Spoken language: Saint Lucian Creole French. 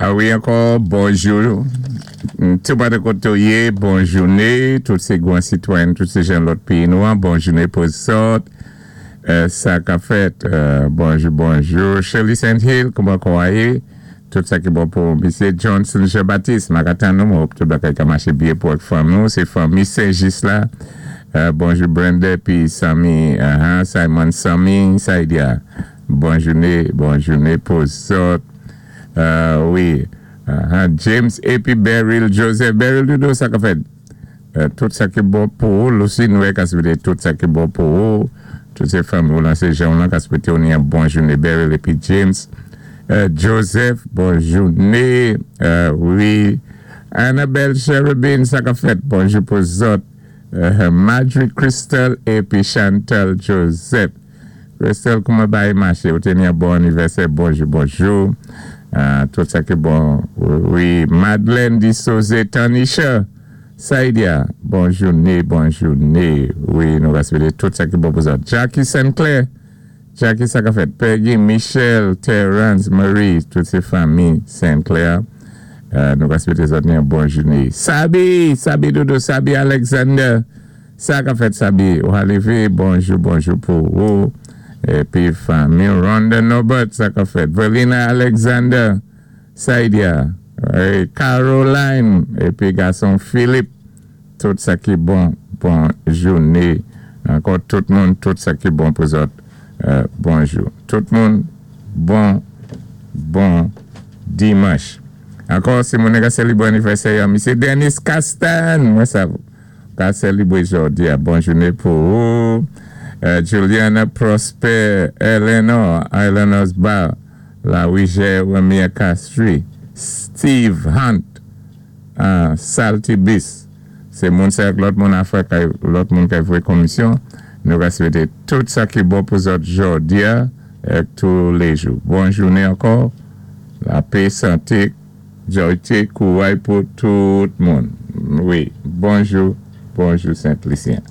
A wi, ankò bonjou. Tou pa de koté ou yé, bon jouné. Tout sé gwan sitwayen, tout sé jan lòt péyi nou an. Bon jouné pou zòt. Sa ka fèt. Bonjou, bonjou. Shirley St. Hill, kouman kon a yé? Tout sa ki bon pou Misyé Johnson Jean-Baptiste. M ka tann nou, mwen hope tout bagay ka maché byen pou ak fanmi nou. Sé fanmi Saint-Just la. Bonjou Brenda, pi Sami, Simon Sami, Saidia. Bon jouné, bon jouné pou zòt. Wi. James A.P. Beryl Joseph. Beryl Doudou, sa ka fèt. Tout sa ki bon pou ou. Lucy Noé ka swété tout sa ki bon pou ou. Tout sé fanmi ou lan sé jan lan ka swété ou ni yon bon jouné Beryl épi James. Joseph, bon jouné. Wi. Annabelle Cherubin, sa ka fèt. Bonjou pou zòt. Marjorie Crystal épi Chantal Joseph. Crystal, kouman bagay maché? Ou té ni yon bon anivèsè. Bonjou, bonjou. Tout sa ki bon. Wi. Madeleine Dissosé Tanisha. Saidia, bon jouné, bon jouné. Wi, nou va swété tout sa ki bon pou zòt. Jackie Sinclair. Jackie, sa ka fèt. Peggy, Michel, Terence, Marie, tout sé fanmi Sinclair. Nou va swété zòt ni yon bon jouné. Sabi, Sabi Doudou, Sabi Alexander. Sa ka fèt, Sabi. Ou lévé, bonjou, bonjou pou ou. Épi fanmi Rhonda Norbert, sa ka fèt. Verlina Alexander, Saidia, Caroline, épi gason Philippe. Tout sa ki bon, bon jouné. Ankò tout moun, tout sa ki bon pou zòt. Bonjou. Tout moun, bon, bon dimanch. Ankò, si moun ka sélébré anivèsè, Misyé Dennis Castan, mwen sa ka sélébré jòdi a. Bon jouné pou ou. Juliana Prosper, Eleanor, Eleanor's Bar, la Jeremia Castry, Steve Hunt, Salty Bis. Sé moun sa lòt moun afè kay lòt moun kay voyé komisyon. Nou va swété tout sa ki bon pou zòt jòdi a ak tou lé jou. Bon jouné ankò. Lapè, santé, jòyté, kouray pou tout moun. Wi, bonjou, bonjou Sent Lisyen.